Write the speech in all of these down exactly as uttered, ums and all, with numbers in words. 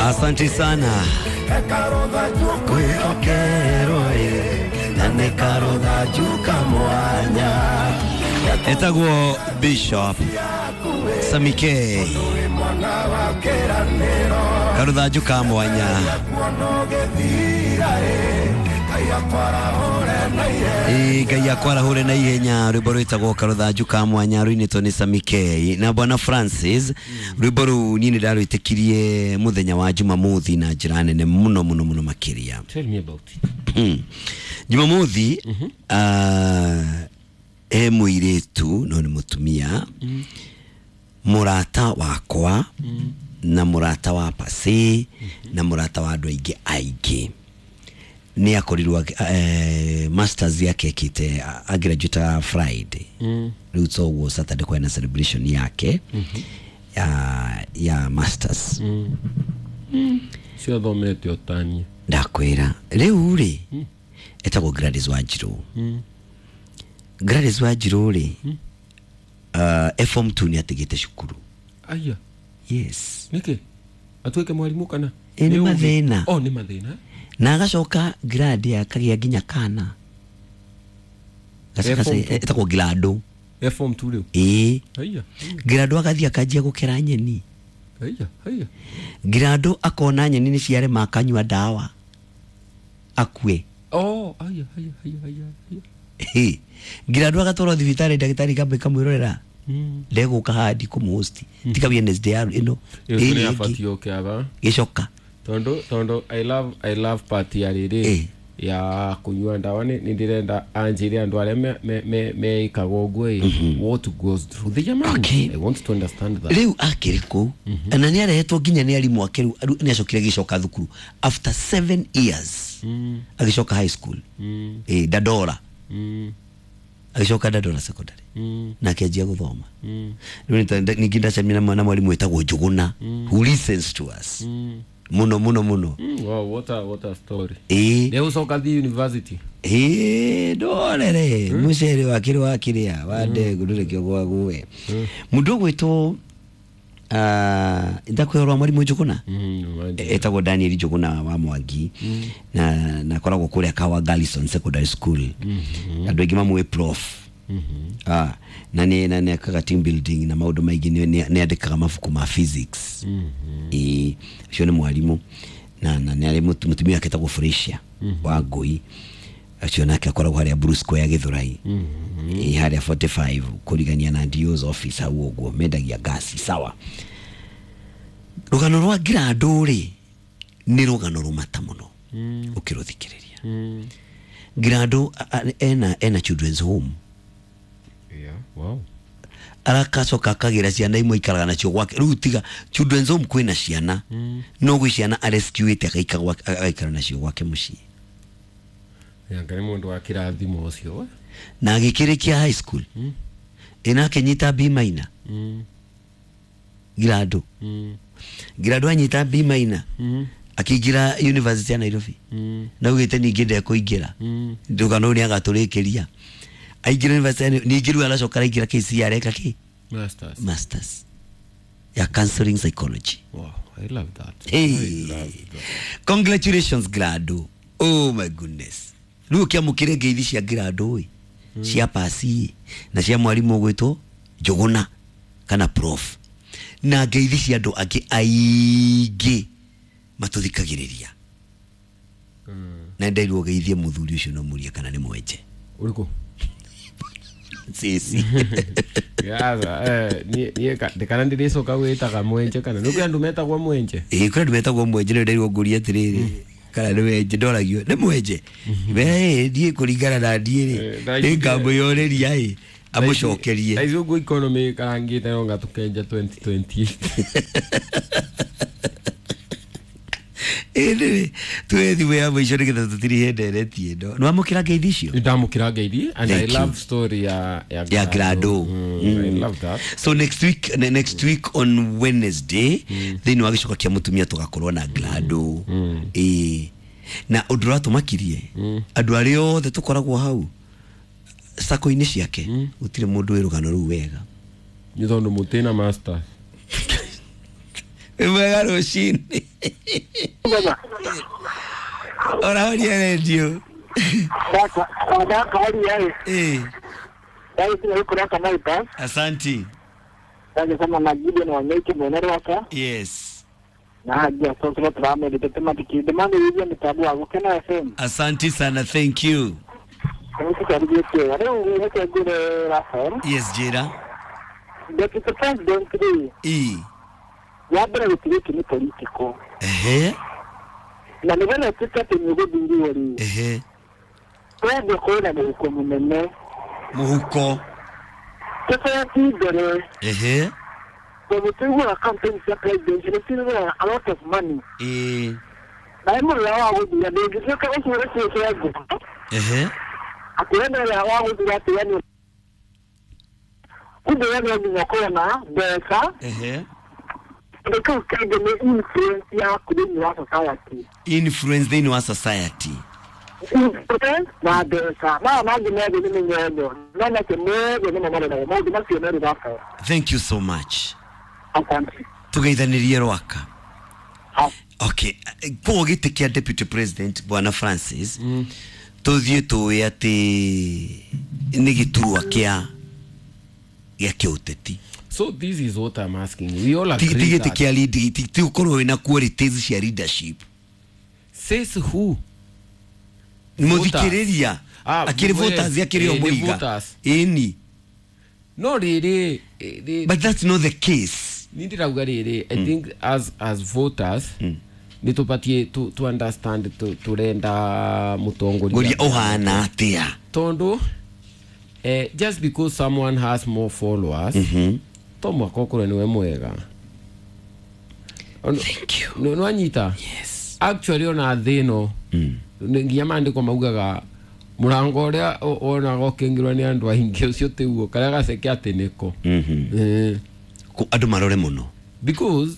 Asante sana. Etagwo Bishop Samike Karuthanju ka mwanya. Ngai akwarahũre na ihenya. Rwĩmbo rwĩtagwo Karuthanju ka mwanya rũinĩtwo nĩ Samike na Bwana Francis. Rwĩmbo rũu niĩ nĩ ndarwĩtĩkirie mũthenya wa Jumamothi na njĩra nene mũno mũno mũno makĩria. Tell me about it. Jumamothi uh, he mũirĩtu no nĩ mũtumia mũrata wakwa na mũrata wa pasi na mũrata wa andũ aingĩ aingĩ nĩ akorirwo eh, masters yake ekĩte agraduate Friday rĩu mm. So ũguo Saturday kwĩna celebration yake mm -hmm. ya, ya masters mm. mm. Ciathomete ũtanie ndakwĩra rĩu rĩ mm. Etagwo Gladys Wanjiru mm. Gladys Wanjiru rĩ mm. uh, F two nĩ atigĩte cukuru. Aya. Yes. Nĩkĩ? Atuĩke mwarimu kana? Nĩ mathĩna. Oh, nĩ mathĩna. Na agacoka grade akagĩa nginya kana. Etagwo Glado. F two rĩu. Ĩĩ. Aya. Glado agathiĩ akanjia gũkera nyeni. Aya, aya. Glado akona nyeni nĩ ciarema akanyua ndawa. Akue. Oh, aya, aya, aya, aya. Glado agatwarwo thibitarĩ ndagĩtarĩ kambe kamwĩrorera. Mm. Ndegũka handi kũmũhosti mm. Tika Wednesday ya ĩno ĩĩ abatiĩ oke aba gĩcoka tondu tondu I love I love party ya rĩrĩ ya kunyua ndawa nĩ ndĩrenda anjĩre andũ arĩa me me meikaga ũguo ĩ what goes through the mind. Okay. I want to understand that. Rĩu akĩrĩ kũu na nĩ arehetwo nginya nĩ arimũ ake rĩu nĩ acokire gĩcoka thukuru after seven years mm. Agĩcoka high school mm. Eh Dandora mm. Agĩcoka Dandora secondary mm. Na akĩanjia gũthoma mm. Rĩu ningĩ ndacemania na mwarimũ wĩtagwo Njũgũna mm. who listens to us mm. muno muno muno mm. Wow, what a, what a story. Eh rĩu ũcoka thiĩ university eh ndorere mm. Mũcere wakĩrĩ wakĩrĩa wa ndengũ ndũrĩ gwague mũndũ ũgwĩtwo ndakwĩrwo mwarimũ Njũgũna mm, etagwo Daniel Njũgũna wa Mwangi mm. na na koragwo kũrĩa Kawa Garrison Secondary School mm -hmm. Andũ aingĩ mamũĩ prof mm -hmm. Ah, na nĩ na nĩ akaga team building na maũndũ maingĩ nĩ andĩkaga mabuku ma physics mm -hmm. Ĩ ũcio nĩ mwarimũ na na nĩ arĩ mũtumia wake etagwo Felicia mm -hmm. wa Ngũi acio nake akoragwo harĩa Blue Square Gĩthũrai mm -hmm. Ĩ harĩa forty-five kũrigania na D O's office hau ũguo mendagia gasi sawa. Rũgano rwa Glado rĩ nĩ rũgano rũmata mũno mm. Ũkĩrũthikĩrĩria mm. Glado ena ena children's home. Yeah, wow. Arakacoka akagĩra ciana imwe ikaraga nacio gwake rĩu tiga children's home kwĩna ciana mm. No gwĩ ciana arescuĩte agaikara nacio gwake mũciĩ. Yanga nĩ mũndũ wa kĩrathimo ũcio na agĩkĩrĩkia high school mm. Ĩna akĩnyita B minor mm. Glado mm. Glado anyita B minor mm. Akĩingĩra university ya Nairobi mm. Na ugĩte ningĩ ndekũingĩra mm. Ndũgano nĩ agatũrĩkĩria aingĩra university ningĩ rĩu aracoka araingĩra K C R eka kĩ masters masters ya counseling psychology. Wow, I love that. Hey. I love that. Congratulations Glado. Oh my goodness. Rĩu ũkĩamũkĩre ngeithi cia Glado ĩ cia pasi na cia mwarimũ ũgwĩtwo Njũgũna kana prof na ngeithi cia andũ angĩ aingĩ matũthikagĩrĩria mm. Na ndeirwo geithie mũthuri ũcio no mũrie kana nĩ mwenje ũrĩkũ sisi Yaza eh ni ni kana ndĩrĩcoka gwĩtaga mwenje kana nĩ kwĩ andũ metagwo mwenje ĩĩ kwĩ andũ metagwo mwenje nĩ ndeirwo ngũrie atĩrĩrĩ kana nĩ wenje ndoragio nĩ mwenje we ndiĩ kũringana na ndiĩ rĩ nĩ ngamũyorĩria ĩ amũcokerie thaa ici ũguo economy ĩkarangĩte no ngatũkenja twenty twenty Ĩndĩ tuwe thimũ ya mũico nĩgetha tũtirihe ndereti ĩno nĩ wamũkĩra ngeithi icio ndamũkĩra ngeithi and Thank I you. love story ya ya ya Glado. Mm, Mm. I love that. So next week ne, next week on Wednesday thĩinĩ wa gĩcoka kĩa mũtumia tũgakorwo na Glado. Ĩĩ na ũndũ ũratũmakirie andũ arĩa othe tũkoragwo hau sako-inĩ ciake gũtirĩ mũndũ wĩ rũgano rũu wega Nĩ tondũ mũtĩ na masters wĩ mwega rũcinĩ. Orahoria redio. Eh. Asanti. Yes. Asanti sana, thank you. Yes, Jira. Deputy President E. Eh. Na Ehe. Muhuko. Ehe. Eh. Ehe. Ehe. Influence in our society. Thank you so much. Tugeithanirie Rwaka. Okay, kwa gĩtĩ kĩa Deputy President Bwana Francis, mm. Tuthiĩ tũĩ atĩ nĩ gĩturwa kĩa gĩa kĩũteti. So this is what I'm asking. We all agree that ti ti ti ukorwo wina qualities cia leadership. Says who? Muthikiriria. Akiri voters akiri o muiga. Eni. No riri. But that's not the case. Nindiraga riri. I think as as voters mm. nitupatie to to understand to turenda mutongoria uhana atia. Tondu eh, just because someone has more followers, mm-hmm. to mwaka ukorwo niwe mwega. Thank you. No, no anyita. Yes. Actually ona thino mm. nginya maandiko maugaga murango uria wonaga ukingirwo ni andu aingi ucio tiguo karia gaceke ati niko. Mhm. Eh andu marore muno. Because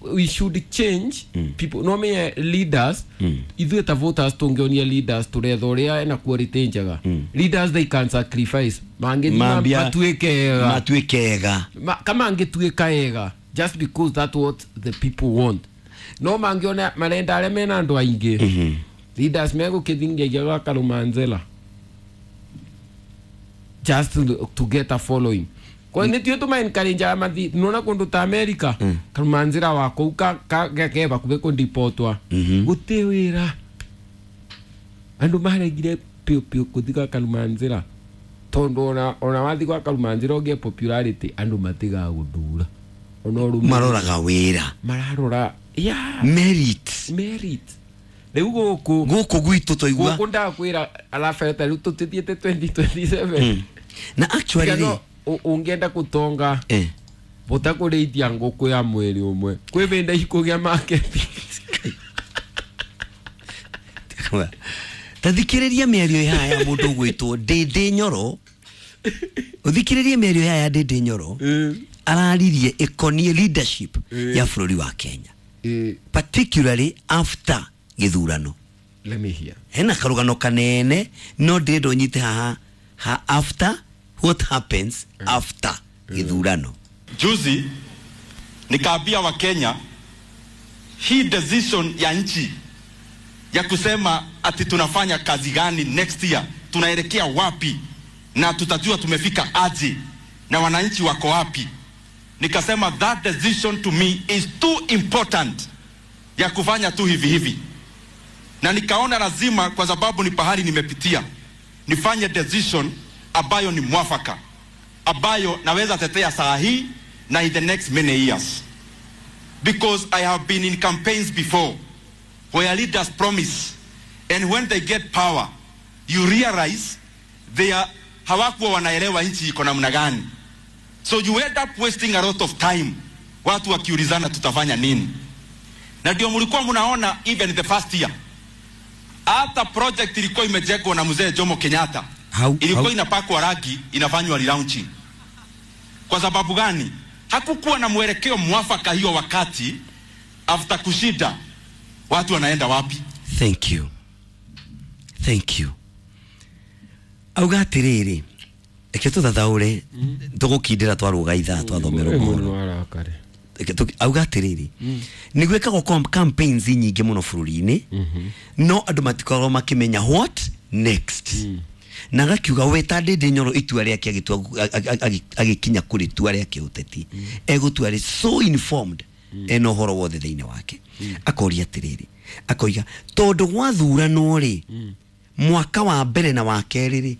we should change mm. people no me leaders mm. ithuĩ ta voters tungionia leaders turetha uria ena quality njega. mm. Leaders they can sacrifice mangĩthiĩ matuĩke ega matuĩke ega Ma, kama angĩtuĩka ega just because that's what the people want no mangiona marenda aria mena andu aingi. mm -hmm. Leaders megũkĩthingia gwa Karumanzela just to, to get a following. Kwa nĩ tuyo tuma encourage amathi nona kundu ta America. mm. Karumanzira wako ka ka keba kube kundipotwa. mm -hmm. Gute wira andu maregire pio pio kuthika Karumanzira tondu ona ona wathi kwa Karumanzira ogie popularity andu matiga guthura ona rumu maroraga wira mararora yeah merit merit riu guku guku gwitu toigua guku ndakwira alafeta riu tutithiete twenty twenty-seven. mm. Na actually no, ungienda kutonga eh bota kurĩithia ngũkũ ya mweri ũmwe kwĩ benda ikũgĩa market. Ta thikĩrĩria mĩario ya ya mũndũ ũgwĩtwo Ndĩndĩ Nyoro. Ũthikĩrĩrie mĩario ya ya Ndĩndĩ Nyoro. Araririe ĩkoniĩ leadership ya bũrũri wa Kenya, particularly after gĩthurano. Let me hear. Hena karũgano kanene no ndĩrenda ũnyite haha ha after what happens mm. after githurano. Juzi nikaambia wa Kenya hii decision ya nchi ya kusema ati tunafanya kazi gani next year, tunaelekea wapi na tutajua tumefika aje na wananchi wako wapi. Nikasema that decision to me is too important ya kufanya tu hivi hivi. Na nikaona lazima, kwa sababu ni pahali nimepitia, nifanye decision ambayo ni mwafaka, ambayo naweza tetea saa hii na in the next many years. Because I have been in campaigns before where leaders promise, and when they get power you realize they are hawakuwa wanaelewa nchi iko namna gani. So you end up wasting a lot of time watu wakiulizana tutafanya nini. Na ndio mlikuwa mnaona even the first year hata project ilikuwa imejengwa na mzee Jomo Kenyatta ilikuwa inapakwa rangi, inafanywa relaunching. Kwa sababu gani? Hakukuwa na mwelekeo mwafaka hiyo wakati. After kushida watu wanaenda wapi? Thank you. Thank you. Auga atiriri eke tuthathaure tugukindira twaruga ithaa twathomerwo mohoro. Auga atĩrĩrĩ, nĩ gwĩkagwo com- campaigns nyingĩ mũno bũrũri-inĩ, no andũ matikoragwo makĩmenya what next. Na agakiuga we ta Ndĩndĩ Nyoro, itua rĩake agĩtua, agĩkinya kũrĩ itua rĩa kĩũteti, egũtua rĩ so informed, ena ũhoro wothe thĩinĩ wake. Akoria atĩrĩrĩ, akoiga tondũ gwathuranwo rĩ, mwaka wa mbere na wa kerĩ rĩ